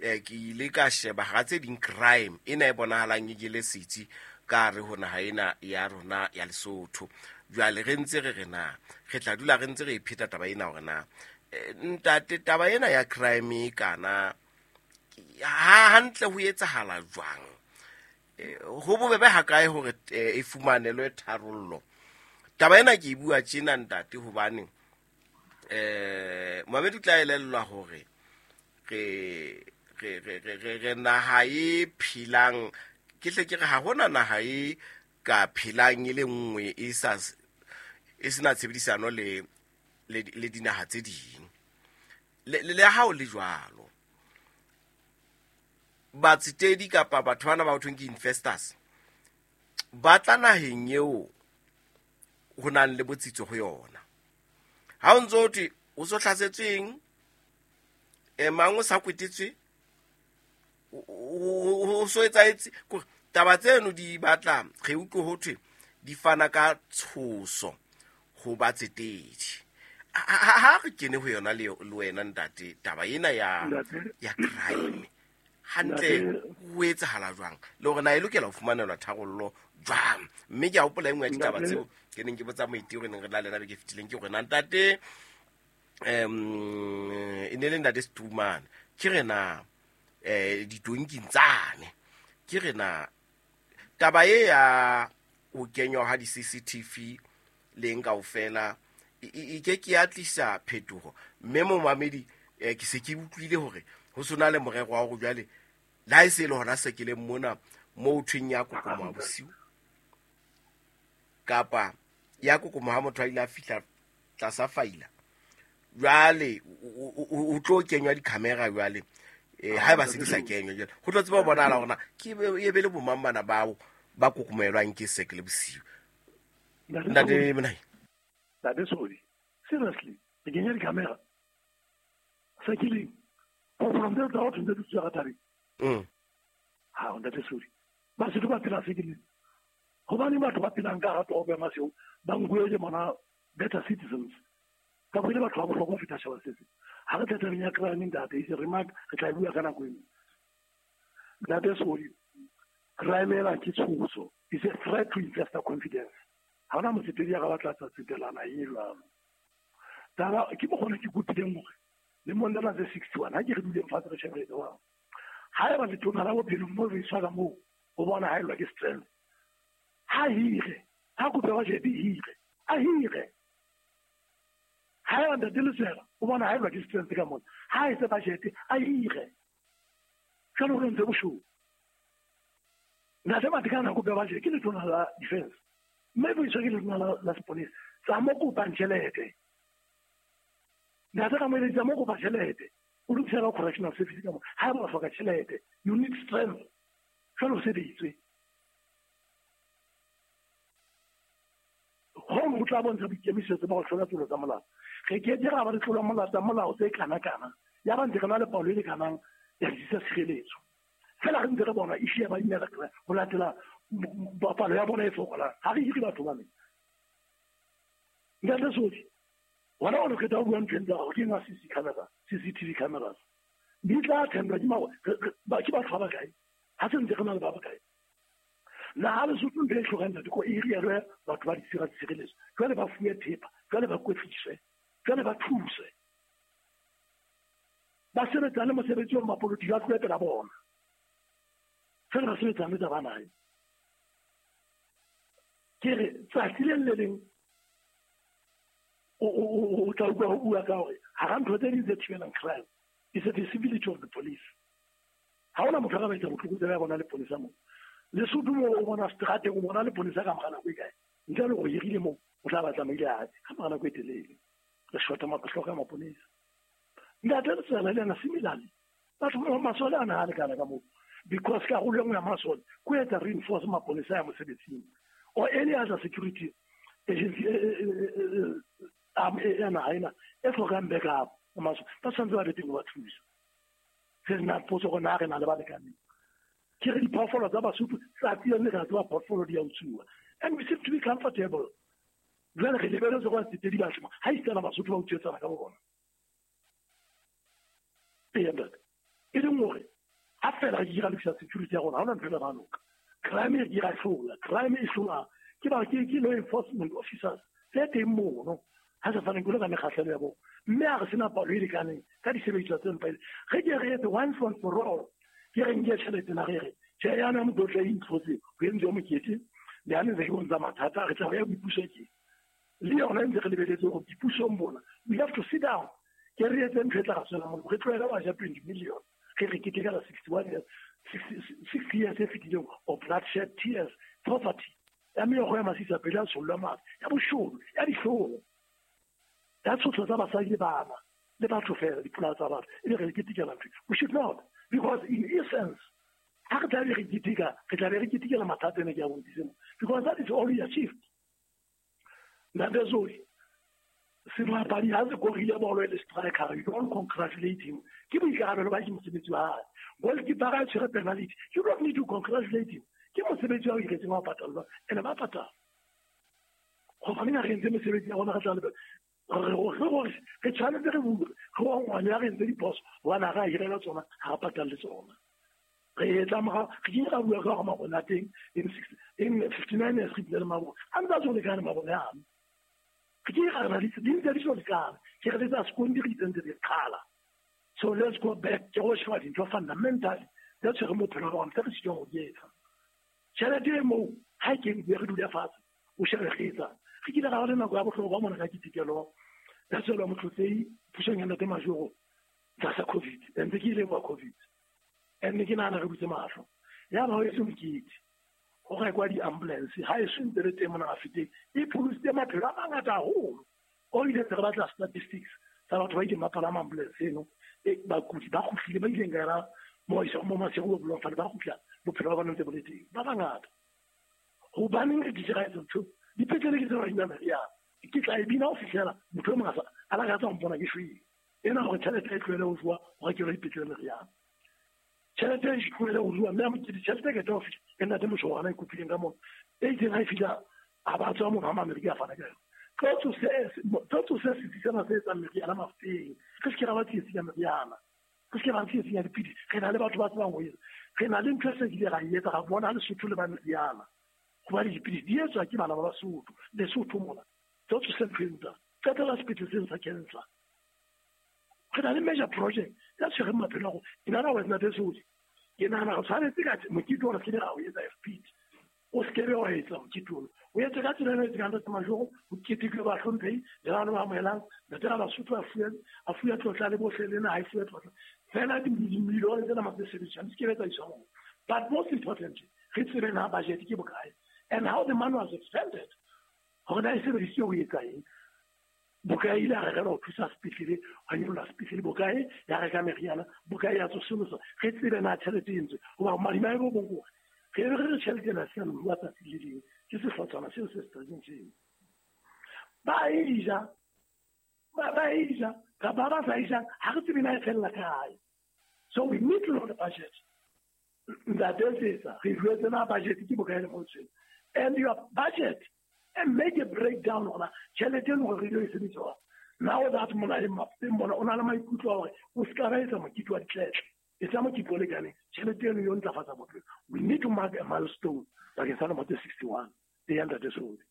Ke ile ka sheba hara tse ding crime ena e bonahalang e jele setsi ka hare ho naha ena ya rona ya Lesotho. Jwale re ntse re re na re tla dula re ntse re e pheta taba ena hore na ntate taba ena ya crime e kana ha hantle ho etsahala jwang, ho bobebe hakae hore e fumanelwe tharollo. Taba ena ke e bua tjena ntate hobane Mohamed o tla elellwa hore re naha e phelang, ke hle ke re ha hona naha e ka phelang e le nngwe e sa e sena tshebedisano le le dinaha tse ding. Le ha o le jwalo, batsetedi kapa batho bana ba ho thweng ke investors ba tla naheng eo ho nang le botsitso ho yona. Ha o ntso thwe o so hlasetsweng, mang o sa kwetetswe, o so etsahetse, kore taba tseno di batla re utlwe ho thwe di fana ka tshoso ho batsetedi. Ha re kene ho yona le wena ntate, taba ena ya crime hantle ho etsahala jwang, le hore na e lokela ho fumanelwa tharollo jwang. Mme ke a hopola e nngwe ya ditaba tseo ke neng ke botsa moeti hore neng re na le yena beke e fetileng, ke hore na ntate e ne le ntate Setumane, ke re na ditonking tsane, ke re na taba e ya ho kenywa ha di-CCTV leng kaofela e ke ke ya tlisa phetoho. Mme momamedi ke se ke utlwile hore ho sona le morero wa hore jwale le ha e se le hona sekeleng mona moo thweng ya kokomoha bosiu kapa ya kokomoha ha motho a ile a fihla tlasa faila, jwale o tlo kenywa di-camera jwale haeba se di sa kenywa jwale ho tlo tseba ho bonahala hore na ke e be le bomang bana bao ba kokomohelwang ke sekele bosiu. Ntate Monai. Ntate Sodi, seriously, re kenya di-camera sekeleng go ntse tsa batho ntse di tswa ka thabeng. Ha ntate Sodi, Basotho ba phela sekeleng hobane batho ba phelang ka hara toropo ya Maseru ba nkuwe le bona better citizens, ka bo ile batho ba bohlokwa ho feta setjhaba se seng. Ha re tle tabeng ya crime ntate, e se remark, re tla e bua ka nako e nngwe. Ntate Sodi, crime ena ke tshoso, is a threat to investor confidence. Ha hona motsetedi ya ka batla tsa tsetelana e jwalo. Taba ke mokgona ke kopileng hore le mong lena tse 61 ha ke re duleng fatshe re shebele wa. Ha eba letona la bophelo mo re iswa ka moo, o bona ha elwa ke strength. Ha hire, ha kope budget hire, a hire. Ha eba ntate Lesela, o bona ha elwa ke strength ka mona. Ha etse budget, a hire. Jwale o ntse boshodu. Ntate Matekane ha kope budget ke letona la defense. Mme bo iswa ke letona la sepolesa. Tsa mo kopang tjhelete. Ntate ka moeletsi, tsa mo kopa tjhelete. O lokisela correctional service ka mo. Ha eba o hloka tjhelete, you need strength. Jwale o sebetswe. Hong ho tla bontsha boikemisetso ba ho hlola tselo tsa molao. Re ke ke ra ba le tlola molao tsa molao tse kana-kana. Ya ba ntse re na le palo e lekanang ya ditsi tsa tshireletso. Fela re ntse re bona issue ya ba inela ho latela palo ya bona e fokolang. Ha re hire batho bana. Ntate Sodi, wena o qeta ho bua ntho e ntse hore ke eng CC camera, CCTV cameras. Di tla thendwa ke ke batho ba bakae? Ha se ntse re na le ba bakae? Na ha Lesotho ntho e hlokang ntate ko e hirelwe batho ba ditsi tsa tshireletso. Jwale ba fuwe thepa, jwale ba kwetliswe, jwale ba thuswe. Ba sebetsane mosebetsi wa mapolotiki a tlohe pela bona. Fela ba sebetsane tsa bana. Ke re tsatsi le le leng o tla utlwa ho bua ka hore hara ntho tse ding tse thibelang crime is the visibility of the police. Ha hona motho a ka ba etsa botlokotsebe ya bona leponesa moo. Lesotho moo o bona seterateng, o bona leponesa ka mora nako e kae? Ntle le hore hirile moo, o tla ba tsamaile hae ka mora nako e telele. Re shota hloka maponesa. Ntate Letsela le yena similarly, batho ba masole a na a lekana ka moo. Because karolo e nngwe ya masole ke ho etsa reinforce maponesa ya mosebetsing or any other security agency ya naha ena e hlokang backup. Masole ba tshwanetse ba be teng ho ba thusa. Se nna potso gore na re na le ba lekaneng. Ke re diphoofolo tsa Basotho tsatsi le letsatsi ba phoofolo di a utsuwa. And we seem to be comfortable. Jwale re lebeletse gore tse di batle ha isitana Basotho ba utswetsana ka bo bona. Ee, ntate. E leng hore Ha fela re ke ra lokisa security ya rona, ha hona ntho e tla ba loka. Crime e ke ra hlola, crime e hlola ke ba ke law enforcement officers tse teng mono, ha se faneng ke ka mekgahlelo ya bona, mme ha re sena palo e lekaneng ka disebediswa tse mpa, re ke re etse once and for all. Ke re nke tjhelete na re re tjhe yana motho e intlotse ho entswe mokete le hane ntse ke bontsha mathata, re tla ya boipuso ke le yona ntse re lebeletse hore boipusong bona we have to sit down, ke re etse ntho e tla re tswela molemo. Re tlohele wa ja 20 million, re re ketekela 61 years, 60 years e fetileng of bloodshed, tears, poverty, ya meokgo ya masisa pele ya tshollwa madi, ya boshodu, ya dihlong, ya tshotlo tsa basadi le bana le batho fela, dipolao tsa batho, e be re ketekela ntho. We should not, because in essence ha re tla be re keteka, re tla be re ketekela mathata ene ke a bontshitse mo, because that is all we achieved. Ntate Zoli, sebapadi ha se korile bolo e le striker, you don't congratulate him. Ke boikarabelo ba ke mosebetsi wa hae. Goalkeeper ha tshwere penalty, you don't need to congratulate him. Ke mosebetsi wa o iretseng wa patallwa, ene ba patala. Gobaneng ha re entse mesebetsi ya rona, re tla lebella re tshwanetse re bue, re ngwane ya re entse diphoso, hobane ha re a hirela tsona, ha re patalle tsona. Re etla morao, re kile ra bua ka hore mabone a teng in 59 years re bile le mabone a ntse a so lekane, mabone ano re kile ra re di ntse di so lekane, ke re tsa sekondi re itsentse di qhala. So let's go back, ke go sheba dintho fundamentally tse tshwereng bophelo ba rona, tse re sitwang ho di etsa. Tjhelete e moo ha e kene, re dule fatshe o shebe re etsang. Re kile ra ba le nako ya bohlokwa mona ka ketekelo ya tswelo Motlotlei pusong ya Ntate Majoro tlasa COVID, ntse ke ile wa COVID, and ke nahana re butse mahlo. Ya ba ho etse mokete, ho rekwa di-ambulance, ha e so ntse le teng mona Mafeteng, e pholositse maphelo a mangata haholo. O ile ntse re batla statistics tsa batho ba ileng ba palama ambulance eno, bakudi ba kgutlile, ba ileng ka yona mo Maseru bo Bloemfontein, ba kgutla bophelo ba bona ntse bo le teng, ba bangata. Hobaneng re ke ra etsa ntho? Dipetlele ke tseo re inang meriana, ke tla e bina ho fihlela motho e mong a lakatsa ho mpona ke shwele. Ena hore tjhelete e tlohele ho jowa, ho rekelwa dipetlele meriana. Tjhelete e tlohele ho jowa, mme a mokete tjhelete e qeta ho fihla, e ntate Moshwana e kopileng ka mona. E itseng ha e fihla, a ba tswa mona ha Maamerika a fana ka yona. Tlo tsose setsi sena se etsang meriana Mafeteng. Re se ke ra ba tsietsing ya meriana. Re se ke ra tsietsing ya dipidisi. Re na le batho ba tsebang ho etsa. Re na le ntho e se kile ra e etsa, ra bona Lesotho le ba meriana. Hobane dipidisi di etswa ke bana ba Basotho, Lesotho mona. Tlo tsose ntho e ntsa. Qetela sepetlele seno sa cancer. Re na le major project ya tshwereng maphelo a rona. In other words, Ntate Sodi, ke nahana re tshwanetse ka mokete ona se ke ra o etsa FPT. O se ke be wa etsa mokete ona. O etse ka tsela ena e etsang Ntate Majoro, ho ketekwe bahlomphehi le bana ba amohelang. Ntate Rabasotho a fuwe tlotla le bohle le naha e fuwe tlotla. Fela dimilione tsena tse sebediswang di se ke be tsa iswa moo. But most importantly, re tsebe na budget ke bokae and how the money was expended. Hore na e sebedisitswe ho etsa eng. Bokae ile a rekelwa ho thusa sepetlele, hwa nyollwa sepetlele, bokae ya reka meriana, bokae ya tsosolosa. Re tsebe na tjhelete e entswe. Hoba madimabe bo bong ke hore re be re re tjhelete ena se ya lohuwa tsatsi le leng ke sehlotshwana seo se seterateng seo. Ba e ja, ba e ja, kapa ba sa e jang, ha re tsebe na e fella kae. So we need to know the budget. Ntate Setsa, re jwetse na budget ke bokae le motho. And your budget, and make a breakdown hona tjhelete eno hore re ilo e sebedisa. Now that mona le Mafeteng mona, o na le maikutlo a hore o se ka ba etsa mokete wa ditletle. Etsa mokete o lekaneng, tjhelete eno yo ntlafatsa bophelo. We need to mark a milestone bakeng sa lemo tse 61 e ya Ntate Sodi.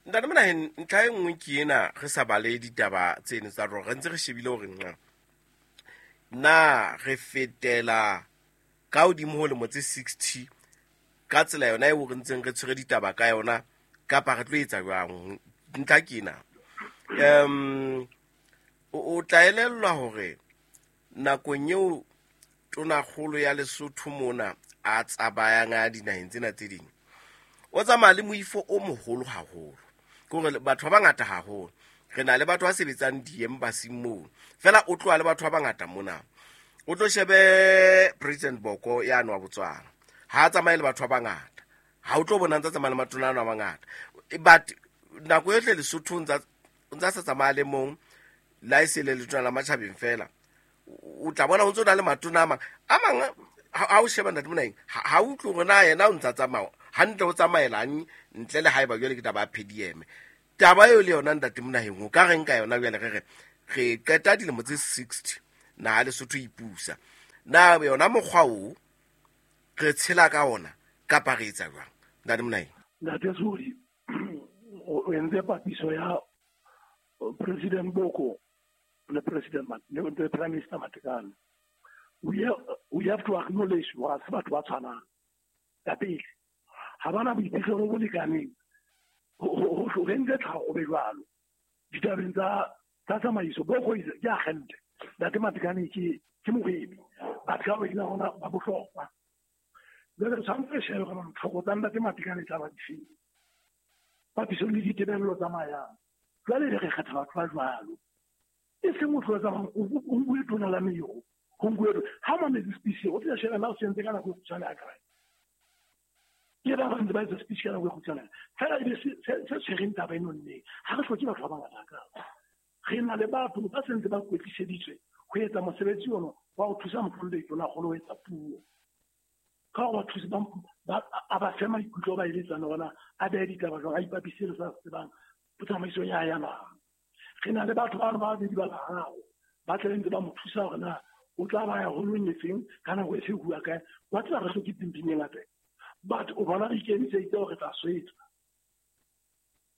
Ntate Monaheng, ntlha e nngwe ke ena, re sa bale ditaba tseno tsa rona, re ntse re shebile hore nqa na re fetela ka hodimo ho lemo tse 60 ka tsela yona eo re ntseng re tshwere ditaba ka yona, kapa re tlo etsa jwang? Ntlha ke ena. O tla elellwa hore nakong eo tonakgolo ya Lesotho mona a tsamayang a dinaheng tsena tse ding, o tsamaya le moifo o moholo haholo. Ke hore batho ba bangata haholo. Re na le batho ba sebetsang di-embassy moo. Feela o tloha le batho ba bangata mona. O tlo shebe President Boko yane wa Botswana. Ha a tsamaye le batho ba bangata. Ha o tlo bona ntsa tsamaya le matona ano a mangata. But nako yohle Lesotho o ntsa sa tsamaya le mong, la e se le letona la matjhabeng fela. O tla bona o ntso na le matona a mang. A mang, ha o sheba Ntate Monaheng, ha o utlwe hore na yena o ntsa tsamaya hantle, o tsamaelang ntle le haeba jwale ke taba ya PDM. Taba eo le yona Ntate Monaheng, o ka reng ka yona jwale? Re re re qeta dilemo tse 60 naha Lesotho e ipusa. Na yona mokgwa o re tshela ka ona kapa re etsa jwang? Ntate Monai. Ntate Sodi, o entse papiso ya President Boko le President le Prime Minister Matekane. We have to acknowledge hore ha se batho ba tshwanang. Ya pele, ha bana boiphihlelo bo lekaneng ho entse tlhaho o be jwalo. Ditabeng tsa tsamaiso, Boko ke agente. Ntate Matekane ke mohwebi. Batho ka bobedi ba rona ba bohlokwa. Jwale re tshwanetse re shebe hore ditlhoko tsa Ntate Matekane tla ba difeng. Papisong le ditebello tsa mayang. Jwale re kgetha batho ba jwalo. E seng motho o tsamayang o nkuwe tona la meyo. Ho nkuwe ha mametse speech o tla sheba na o sentse ka nako e kgutshwane a kae. Le ba bang ba etsa speech ka nako e kgutshwane. Fela ebe se tshwereng taba eno nneng. Ha re hloke batho ba bangata ka. Re na le batho ba sentse ba kwetliseditswe ho etsa mosebetsi ono wa ho thusa motlollo tona kgolo ho etsa puo. Ka hore bathusi ba a ba fe maikutlo ba eletsana hore a behe ditaba jwang, a ipapise le sa tsebang tsamaisong ya ya naha. Re na le batho ba babedi ba bararo ba tla ntse ba mo thusa hore na o tla ba ya holong e feng ka nako e fe bua kae. Wa tseba re hloke pimping e ngata, but o bona re ikemiseditse hore re tla swetsa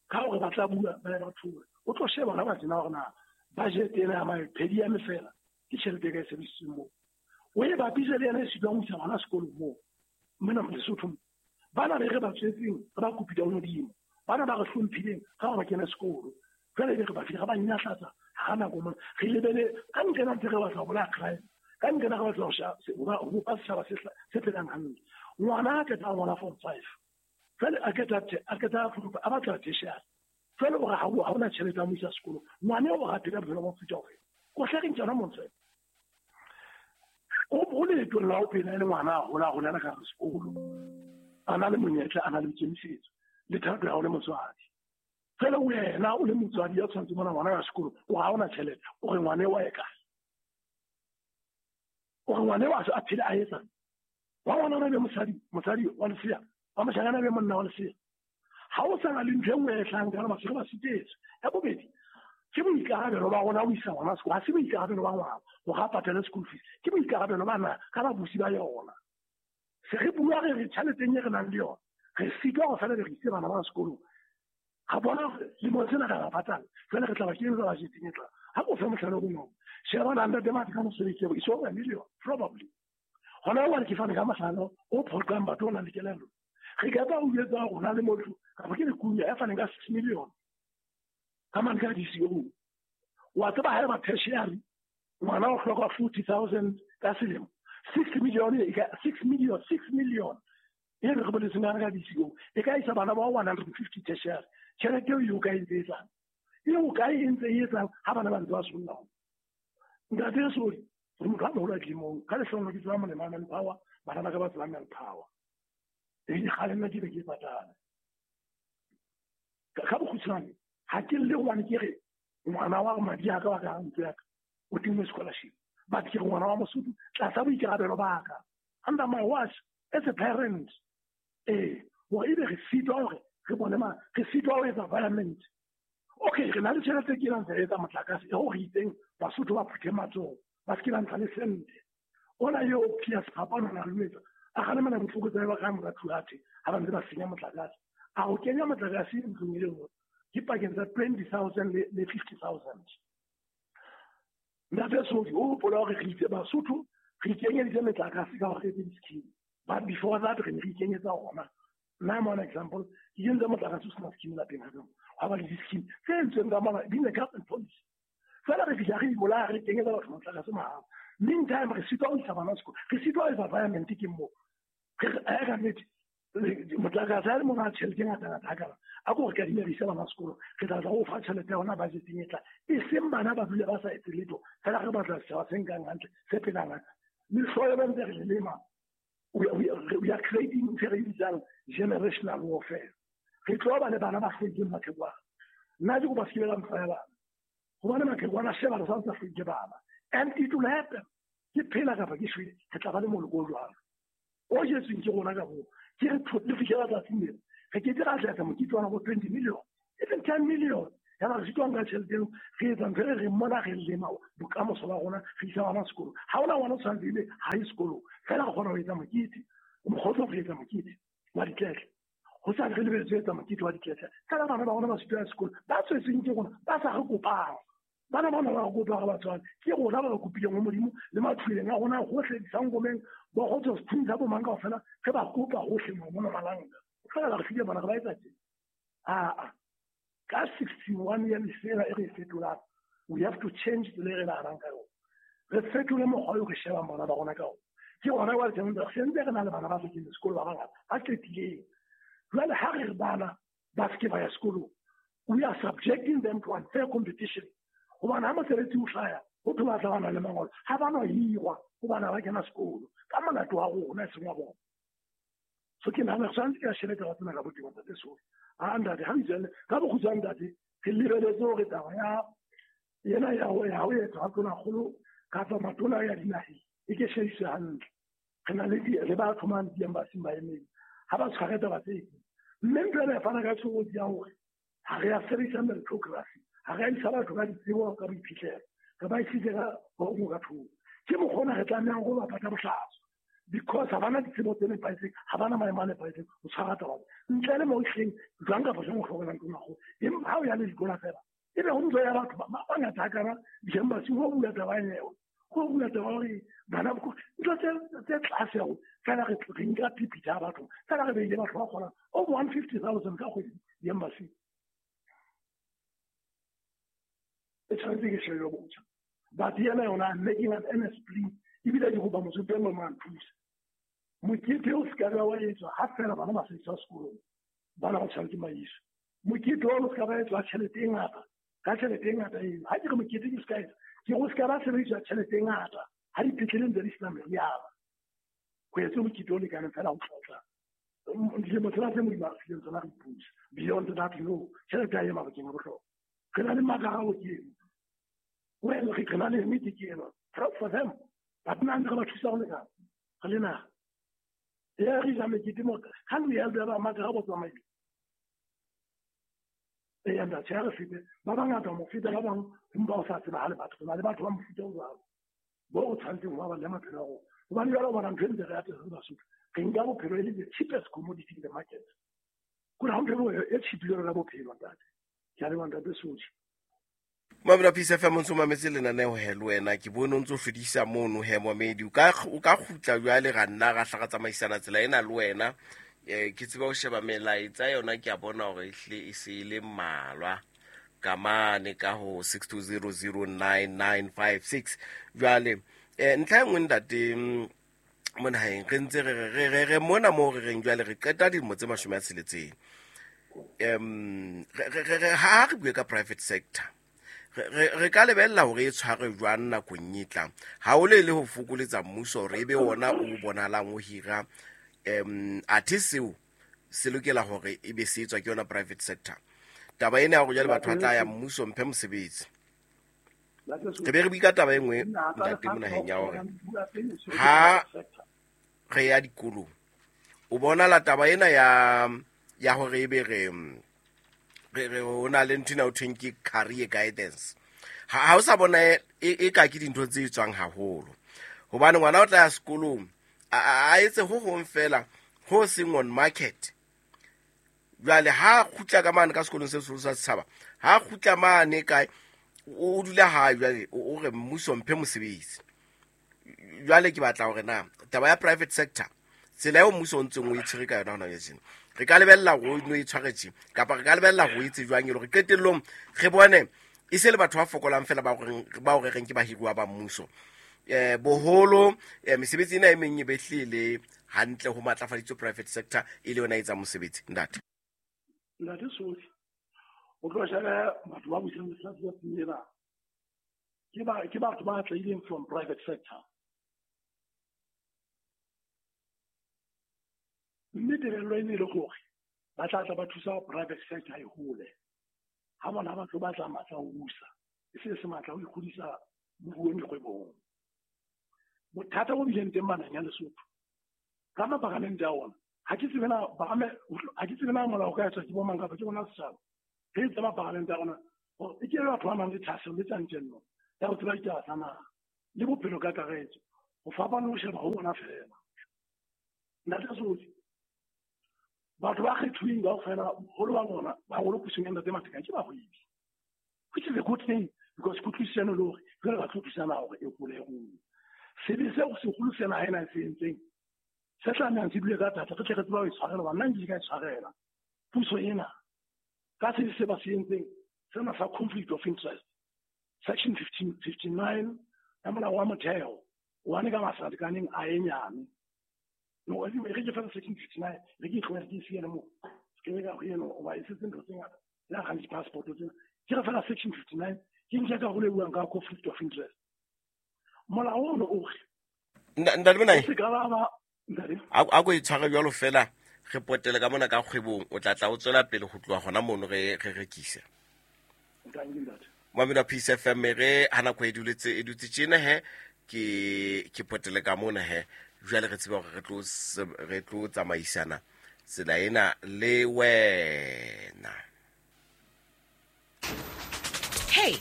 ka hore ba tla bua ba ba thola. O tlo sheba hona ba tsena hore na budget ena ya maphedi ya mefela ke tjhelete e ka e sebedisitsweng moo. O e bapise le yena e sitwang ho isa ngwana sekolong moo. Mona Lesotho bana be re ba tswetseng re ba kopile ho Modimo, bana ba re hlomphileng ka hore ba kene sekolo, jwale be re ba file re ba nyahlatsa ha nako mona re lebele ka nqena ntse re batla ho bolaya crime, ka nqena re batla ho bopa setjhaba se phelang hantle. Ngwana a qeta ngwana form 5, jwale a qeta a batla tertiary, jwale o re ha hona tjhelete ya mo isa sekolo, ngwana eo o re a phela bophelo ba mofuta ofe? Ko hle re ntjana montswe. O leetong la ho phela e le ngwana a hola a holela ka hare sekolo, a na le monyetla, a na le boikemisetso le thato ya ho le motswadi. Fela wena o le motswadi ya tshwanetse bona ngwana ya sekolo, o ha hona tjhelete, o re ngwana eo a ye kae? O re ngwana eo a phele a etsang? Wa ngwana be mosadi wa lesea, wa moshanyana be monna wa lesea. Ha o sa na le ntho e nngwe e hlahang ka hore batho ba sitetswe. Ya bobedi, ke boikarabelo ba rona ho isa ngwana sekolo, ha se boikarabelo ba ngwana hore a patale school fees, ke boikarabelo ba na ka babusi ba yona. Se re bua re re tjheleteng e re nang le yona, re sitwa hore fela re ise bana ba sekolong. Ga bona lemong sena re ba patala, jwale re tla ba kenyetsa budgeteng e tlang. Ha ko fe mohlala o bonolo, sheba na Ntate Matekane o sebeditse it's over a million probably. Hona jwale ke fane ka mohlala o phoqang batho o nang le kelello. Re ka tla o jwetsa hore na le motho kapa ke lekunya ya faneng ka 6 million ka mane ka DCO. Wa tseba ha eba tertiary ngwana o hloka 40,000 ka selemo, 6 million e ka 6 million, 6 million e re boletseng ka DCO e ka isa bana ba 150 tertiary. Tjhelete eo ka e etsang, eo ka e ntse e etsang ha bana ba ntse ba solla. Ntate Sodi, re motho a moholo a dilemong, ka lehlohonolo ke tseba molemo wa manpower, bana ba ka ba tseba manpower. E kgale nna ke be ke patala. Ka bokgutshwane, ha ke lle hobane ke re ngwana wa madi a ka wa ka ntlo ya ka o tingwe scholarship, but ke re ngwana wa Mosotho tlasa boikarabelo ba ka, under my watch as a parent. Hore ebe re sitwa hore re bone ma re sitwa ho etsa environment. Okay, re na le tjhelete ke nang etsa motlakase e ho re itseng Basotho ba phuthe matsoho, ba se ke ba ntsha le sente. Ona eo Pius Phapano na le etsa a kgalemela botlokotsebe ba ka mora Thuate ha ba ntse ba senya motlakase. A ho kenya motlakase ntlong e le nngwe ke pakeng tsa 20,000 le 50,000. Ntate Sodi, o hopola hore re itse Basotho re ikenyeditse metlakase ka hore re etse di-scheme, but before that re ne re ikenyetsa ona. Nna I'm one example, ke kentse motlakase o sena scheme lapeng ha ka, ha ba le di-scheme tse entsweng ka mona di ne government policy. Fela re fihla re ibolaya re kenyetsa batho motlakase mahala. Meantime re sitwa ho isa bana sekolo, re sitwa ho etsa environment ke moo. Re ka nnete motlakase ha le mona tjhelete e ngata-ngata hakana, a ko re kadime re ise bana sekolo, re tla tla o fa tjhelete ya hona budgeteng e tlang. E seng bana ba dule ba sa etse letho, fela re batla setjhaba se nkang hantle, se phelang hantle. Mehloyo ba ntse re le lema, we are creating ntho e re bitsang generational warfare. Re tlo ba le bana ba hlwekileng maqhekwana. Nna ke kopa se ke ba mfa ya bana, hobane maqhekwana a sheba re sa ntse a hlwekile bana. And it will happen. Ke phela kapa ke shwele, re tla ba le moloko o jwalo o jetsweng ke rona ka moo. Ke re le fihlela tsatsing lena re ke ke ra tlatsa mokete wa bo 20 million, even 10 million Ya ba re sitwa nka tjhelete eo re etsa ntho e re mona re lema bokamoso ba rona, re isa bana sekolong. Ha hona ngwana o tshwanetse ebe ha ye sekolong, fela re kgona ho etsa mokete. Mokgotso re etsa mokete wa ditletle, ho sa re lebeletse ho etsa mokete wa ditletle, fela bana ba rona ba sitwa ya sekolo, ba tswetsweng ke rona, ba sa re kopang. Bana bana ba re kopa re batswadi, ke rona ba ba kopileng ho Modimo le mathuleng a rona hohle, disangomeng, bo kgotso sethunya sa bo mang kaofela, re ba kopa hohle mona Malanga. Fela ba re file bana, re ba etsa tje. Aa, ka 61 ya lefela e re e fetolang, we have to change tsela e re nahanang ka yona. Re fetole mokgwa o re shebang bana ba rona ka ona. Ke hona jwale teng re sentse re na le bana ba sa keneng sekolo ba bangata, ba qetileng. Jwale ha re re bana ba se ke ba ya sekolong, we are subjecting them to unfair competition. Hobane ha mosebetsi o hlaya, ho thwe ba tla ba na le mangolo, ha ba no hirwa hobane ha ba kena sekolo. Ka molato wa rona e seng wa bona. So ke nahana re tshwanetse ke a shebe taba tsena ka botebo, Ntate Soli. A ntate, ha re itswelle ka bokgutshwane, ntate, re lebeletse hore taba ya ena ya ho ya ho etswa ha tonakgolo kapa matona ya dinaheng e ke shebiswe hantle. Re na le le batho mane di-embassy ba emeng, ha ba tshware taba tse. Mme ntho ena e fana ka tshobotsi ya hore ha re a sebedisa meritocracy, ha re a isa batho ka ditsebo ka boiphihlelo, re ba isitse ka ho ka thoko. Ke mokgwa ona re tlamehang ho bapatsa bohlaswa, because ha bana ditsebo tse nepahetseng, ha bana maemo a nepahetseng ho tshwara taba tse. Ntle le moo ehlileng jwang kapa jwang o hlokomelang tonakgolo, empa ha o ya le dikola fela, ebe ho ntso ya batho ba bangata hakana di-embassy ho bua taba eo, ho bua taba hore bana ntho tse tlase haholo, fela re nka phiphithi ya batho, fela re beile batho ba kgonang over 150,000 ka kgwedi di-embassy. E tshwanetse ke shebe botjha. But yena yona, I'm making an earnest plea, ebile ke kopa motho e mong a nthuse. Mokete o se ka ba wa etswa ha fela bana ba sa iswa sekolong, bana ba tshwanetse ba iswe. Mokete o se ka ba etswa tjhelete e ngata, ka tjhelete e ngata eo. Ha ke re mokete ke se ka etswa, ke go se ka ba sebediswa tjhelete e ngata ha dipetleleng tse di sena meriana. Ho etswe mokete o lekaneng fela ho tlotla dilemo tsena tse Modimo a re fileng tsona re ipuse. Beyond that, no, tjhelete ha e mabakeng a bohlokwa. Re na le makarabo ke eno. Well, re na le nnete ke eno. Proud for them. But nna ntse re ba thusa ho lekana. Re le naha. Ya re ja mekete mo, ha le ya ba makarabo tsamaile. Eya ntate, ha re fete, ba bangata mo feta ba bang empa o sa tsebahale batho. Re na le batho ba mofuta o jwalo, bo o tshwanetseng ho ba le maphelo a rona. Hobane jwale o bona ntho e ntse re atisa re Basotho, re nka bophelo e le the cheapest commodity in the market. Kore ha ntho e cheap jwalo ka bophelo, ntate. Ke a leboha, Ntate Sotho. Mamela Peace FM, o ntso mametse lenaneo he le wena, ke bone o ntso hlodisa mono he momedi. O ka kgutla jwale ra nna ra hla ra tsamaisana tsela ena le wena. Ke tseba ho sheba melaetsa yona, ke a bona hore ehlile e se e le mmalwa ka mane ka ho 62009956. Jwale ntlha e nngwe ntate mo naheng, re ntse re mona moo re reng jwale re qeta dilemo tse 60. Ha re bue ka private sector, re ka lebella hore e tshwarwe jwang nakong e tlang, haholo e le ho fokoletsa mmuso hore ebe ona o bonahalang o hira. Athe seo se lokela hore ebe se etswa ke yona private sector. Taba ena ya hore jwale batho ba tla ya mmuso mphe mosebetsi. Re be re bue ka taba e nngwe ntate mo naheng ya hore ha re ya dikolong, o bona la taba ena ya hore ebe re ho na le ntho ena ho thweng ke career guidance. Ha o sa bona e ka ke dintho tse tswang haholo, hobane ngwana o tla ya sekolong a etse ho hong fela ho seng on market. Jwale ha kgutla ka mane ka sekolong se seholo sa setjhaba, ha kgutla mane kae, o dula hae jwale o re mmuso mphe mosebetsi. Jwale ke batla hore na taba ya private sector, tsela eo mmuso o ntseng o e tshwere ka yona hona jwale, re ka lebella hore o no e tshware tje, kapa re ka lebella hore o etse jwang e le hore qetellong re bone e se le batho ba fokolang fela ba re reng ke bahiruwa ba mmuso. Boholo mesebetsi ena e meng e behlile hantle ho matlafaditswe private sector e le yona e etsang mosebetsi. Ntate. Ntate Sotho, o tlo shebe batho ba busang lefatshe lena, ke batho ba tlileng from private sector. Mme tebello e ne le hore ba tla tla ba thusa private sector e hole. Ha bona batho ba tla matla ho busa, e se se matla ho ikgodisa moruong dikgwebong. Bothata bo bileng teng manang ya Lesotho ka mapalamente a ona, ha ke tsebe na molao o ka etswa ke bo mang kapa ke bona setjhaba. Re itse mapalamente a rona Gore e ke batho ba nang le thahasello le tjantjello ya ho tseba ditaba tsa naha le bophelo ka kakaretso, ho fapana le ho sheba ho bona feela. Ntate Sodi, batho ba kgethuweng kaofela, boholo ba bona baholo pusong ya Ntate Matekane ke bahwebi, which is a good thing because kutlwisisano le hore jwale ba tlo thusana hore e hole ruo. Sebe seo seholo se naha ena e se entseng se tlamehang se dule ka thata, re tle re tseba ho e tshwarela, hoba nna nkile ka e tshwarela puso ena ka sebe se ba se entseng sena sa conflict of interest, section 15 59 ya molao wa motheo one ka masalekaneng a e nyane. No, e re ke fela section 59, re ke tlohele ke siele mo ke be ka go eno, oba e setse ntho tse ngata le ga di-passport tsena. Ke re fela section 59 ke nke ka go le buang ka conflict of interest. Molao ono o re Ntate Monai, se ka ba ntate, a ko e tshware jwalo fela, re potele ka mona ka kgwebong, o tla tla o tswela pele go tloha gona mono re re rekise. Ntanke ntate. Mamelo wa Peace FM, re ha nako e duletse e dutse tjena he, ke potele ka mona he. Jwale re tseba hore re tlo tsamaisana tsela ena le wena. Hey,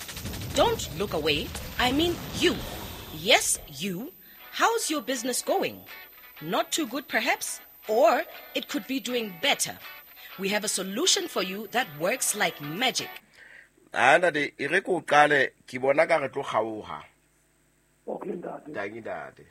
don't look away. I mean you. Yes, you. How's your business going? Not too good, perhaps? Or it could be doing better. We have a solution for you that works like magic. A ntate, e re ko qale, ke bona ka re tlo kgaoha. Okay ntate. Tanki ntate.